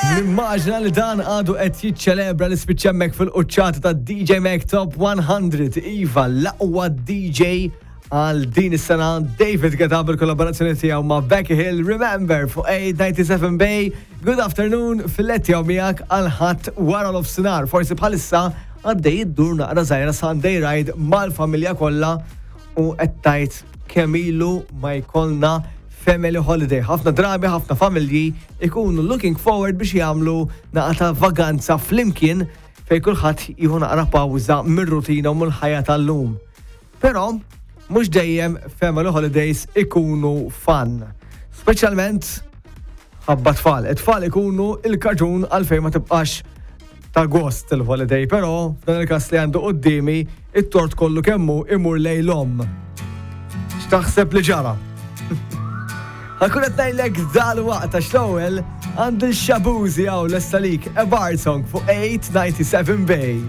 Nimmaġina li dan għadu qed jiċċelebra li spiċċa hemmhekk fil-quċċata ta' DJ Mag Top 100. Iva, l-aqwa DJ għal din is-sena David Guetta bil-kollaborazzjoni tiegħu ma' Becky Hill Remember fuq 897 Bay. Good afternoon fil-letti għaw miegħek għal ħadd wara l-ofsinhar. Forsi bħalissa għaddej iddur naqra żgħira Sunday Ride mal-familja kollha u qed tgħid kemm ilu ma jkollna family holiday. Ħafna drabi, ħafna familji ikunu looking forward biex jagħmlu naqa ta' vaganza flimkien fejn kulħadd jieħu naqra pawża mir-rutina u mill-ħajja tal-lum. Però mhux dejjem family holidays ikunu fun. Speċjalment ħabba tfal. It-tfal ikunu il-kaġun għalfejn ma tibqax ta' gost il-holiday, però f'dan il-każ li għandu quddiemi it-tort kollu kemmu imur lejn l-omm. X'taħseb li ġara? Ħakun qed ngħidlek dal-waqt għax l-ewwel għand il-Shabuzi hawn lesta lik a bar song fuq 897 Bay.